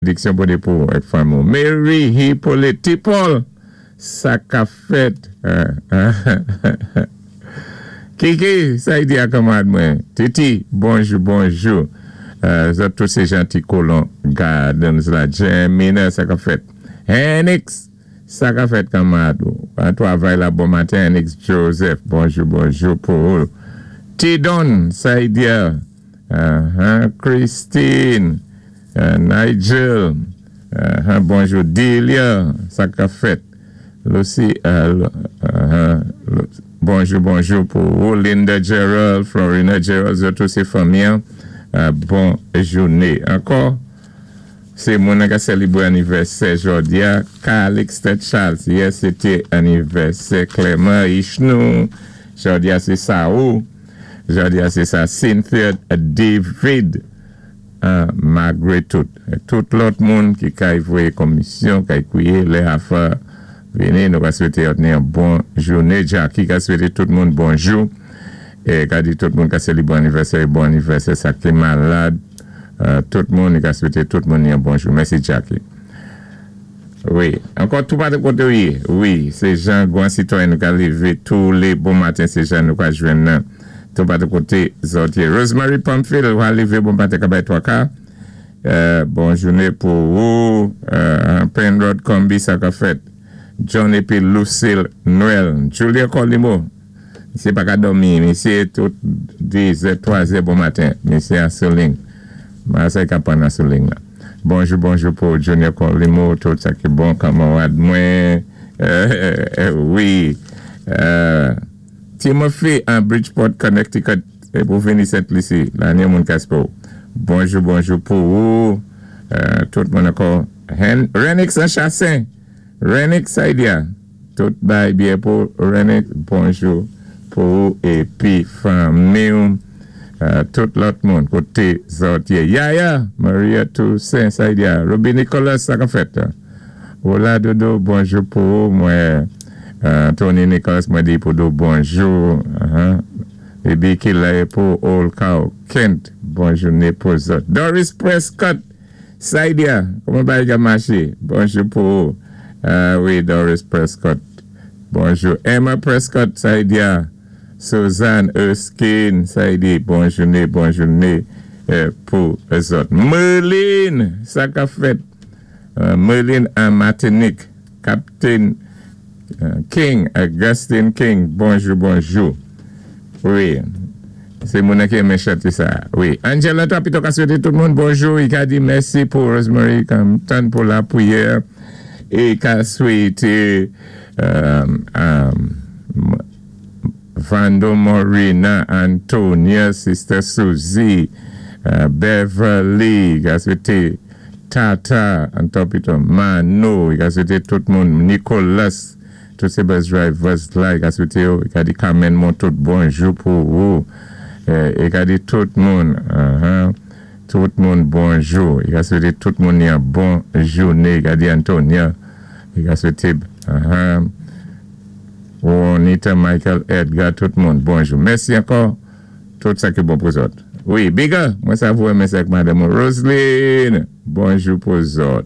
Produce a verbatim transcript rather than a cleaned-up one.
Benediksyon Bondye pou avèk fanmi. Mary Hippolyte T. Paul, sa ka fèt. Kiki, sa i di a kanmarad mwen. Titi, bonjou, bonjou. Zòt tout sé Janti Kolon Gardens la. Jemina, sa ka fèt. Henix, sa ka fèt kanmarad. An twavay la bon maten, Henix Joseph. Bonjou, bonjou pou ou. Tidon, sa i di a. Christine, Nigel, bonjou. Delia, sa ka fèt. Lucy, bonjou, bonjou pou ou. Linda Gerald, Florina Gerald, zòt tout sé fanmi. Bon jouné. Ankò, sé moun ka sélébwé anivèsè jòdi a. Calixte Charles, yè sé té anivèsè Clément Ishnou. Jòdi a sé sa ou. Jòdi a sé sa Cynthia David. Malgwé tout. Tout lòt moun ki kay voyé komisyon, kay kwié, lè afa vini, nou ka swété yon bon jouné. Jackie ka swété tout moun bonjou. É ka di tout moun ka sélébwé anivèsè, bon anivèsè, sa ki malad. Tout moun, ka swété tout moun yon bonjou. Mèsi Jackie. Wi, ankò tou patou koté ou yé. Wi, sé jan gwan sitwayen nou ka lévé tou lé bon maten, sé jan nou ka jwenn nan. Tou patou koté zòt yé. Rosemary Pamphile, ou lévé bon maten ka bay twa ka. Bon jouné pou ou. Penrod Combi, sa ka fèt. John épi Lucille Noël. Julia Colimo. Misyé pa ka dòmi. Misyé tout dizè, twazè bon maten. Misyé an sou liy. Mwen ka pran an sou liy la. Bonjou, bonjou pou Junior Colimo. Tout sa ki bon kanmarad mwen. Wi. Timothy an Bridgeport, Connecticut. Pou vini Sent Lisi. La ni moun kaspo. Bonjou, bonjou pou ou. Tout moun ankò. Renix an Chassin. Renix Saidia. Tout bay byen pou Renix. Bonjou pou ou épi fanmi. Tout lòt moun. Koté zòt yé. Yaya. Maria Toussaint Saidia. Ruby Nicolas, sa ka fèt. Hola Dodo, bonjou pou ou. Mwen Tony Nicolas, mwen di pou do bonjou. Bibi ki la pou Old Cow Kent. Bonjou né pou zòt. Doris Prescott. Saidia, kouman bagay ka maché? Bonjou pou ou. Wi, Doris Prescott. Bonjou. Emma Prescott, Saidia. Suzanne Erskine, Saidia. Bonjou né, bonjou né pou zòt. Merlin, sa ka fèt. Merlin an Martinique. Captain King, Augustine King. Bonjou, bonjou. Wi. Sé moun ki renmen chanté sa. Wi. Angela Tapito ka swété tout moun bonjou. I ka di mèsi pou Rosemary Compton pou lapriyè. É ka swété um, um, Vando Morina, Antonia, Sister Susie, uh, Beverly, ka swété Tata, Antopito, Mano, ka swété tout moun, Nicolas, tout sé bus drivers la, ka swété ka di Carmen Montout, bonjou pou ou. É ka di tout moun, uh-huh, tout moun bonjou. I ka swété tout moun yon bon jouné. I ka di Antonia, i ka swété, uh-huh, Juanita, Michael, Edgar, tout moun, bonjou. Mèsi ankò, tout sa ki bon pou zòt. Wi, Biga, mwen sa vou mèsi ak madam Roseline, bonjou pou zòt.